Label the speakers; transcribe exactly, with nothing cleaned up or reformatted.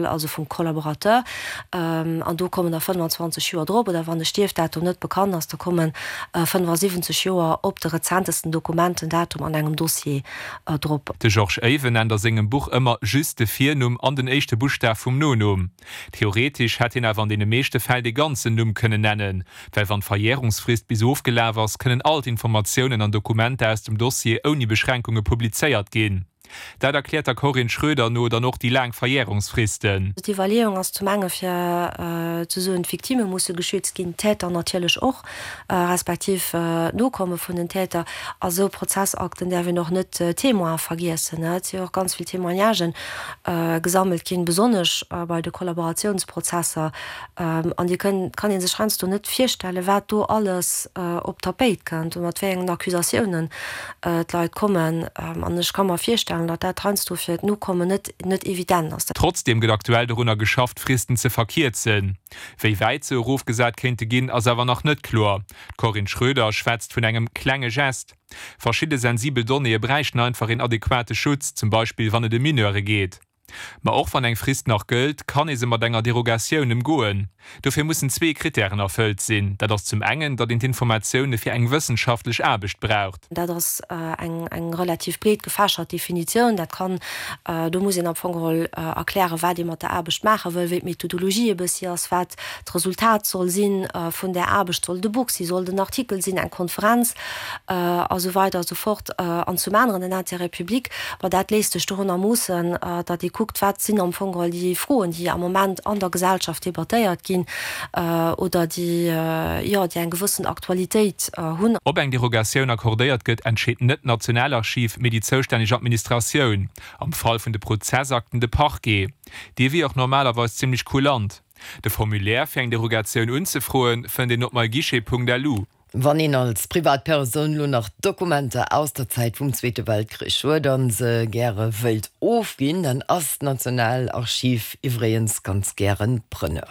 Speaker 1: also vum Collaborateur, an do kommen da fënnwanzwanzeg Joer drop, oder wann de Stierfdatum net bekannt ass, da komme fënnfasiwwenzeg Joer op de rezentesten Dokumentendatum an engem Dossier drop.
Speaker 2: De Georges Even nennt a sengem Buch ëmmer just de Virnumm an den éischte Buschtaf vum Nonumm. Theoretesch hätt hien awer an deene meeschte Fäll de ganzen Numm kënnen nennen, well wann d'Verjärungsfrist bis ofgelaf ass, kënnen all d'Informatiounen an Dokumenter aus dem Dossier ouni Beschränkunge publizéiert ginn. Dat erkläert der Corinne Schroeder no dann och déi laang Verjärungsfristen.
Speaker 1: D'Iwwerleeung ass zum enge fir ze soen, d'Victimme musse geschützt ginn, d'Täter natierlech och, respektiv d'Nokomme vun den Täter. A sou Prozessakten däerf een och net d'Témoine vergiessen. Et si jo och ganz vill Témoignagen gesammelt ginn, besonnesch bei de Kollaboratiounsprozesser. An déi kënn, kann ee sech heiansdo net virstellen, wat do alles op d'Tapéit kënnt a mat wéi engen Accusatiounen d'Leit kommen. An ech ka mer virstellen, datt dat heiansdo fir d'Nokommen net net evident ass.
Speaker 2: Trotzdeem gëtt aktuell dorunner geschafft, d'Fristen ze verkierzen. Wéi wäit se erofgesat kéinte ginn, ass awer nach net kloer. D'Corinne Schroeder schwätzt vun engem klenge Gest. Verschidde sensibel Donnéeë bräichten einfach een adequate Schutz, zum Beispill wann et ëm Mineure geet. Ma och wann eng Frist nach gëllt, kann ee se mat enger Derogatioun ëmgoen. Dofir mussen zwee Krittären erfëllt sinn. Dat ass zum engen, datt een d'Informatioune fir eng wëssenschaftlech Aarbecht braucht.
Speaker 1: Dat ass eng eng relativ breet gefächert Definitioun. Dat kann, do muss een am Fong geholl erklären, wat ee mat der Aarbecht maache wëll, wéi d'Methodologie e bëssi ass, wat d'Resultat soll si vun där Aarbecht. Soll et e Buch sinn, soll et en Artikel sinn, eng Konferenz a sou weider a sou fort. An zum aneren den Intérêt public, ma dat léisst sech dorunner moossen, datt ee kuckt, wat sinn am Fong geholl déi Froen, déi am Moment an der Gesellschaft debattéiert ginn oder déi, jo, déi eng gewëssen Aktualitéit hunn.
Speaker 2: Ob eng Derogatioun accordéiert gëtt, entscheet net d'Nationalarchiv, mee déi zoustänneg Administratioun, am Fall vun de Prozessakten de Parquet. Dee wier och normalerweis zimmlech kulant. De Formulaire fir eng Derogatioun unzefroen, fënnt een op myguichet.lu.
Speaker 3: Wann een als Privatpersoun lo nach Dokumenter aus der Zäit vum Zweete Weltkrich huet an se gäre wëilt ofginn, dann ass d'Nationalarchiv iwwregens ganz gären Preneur.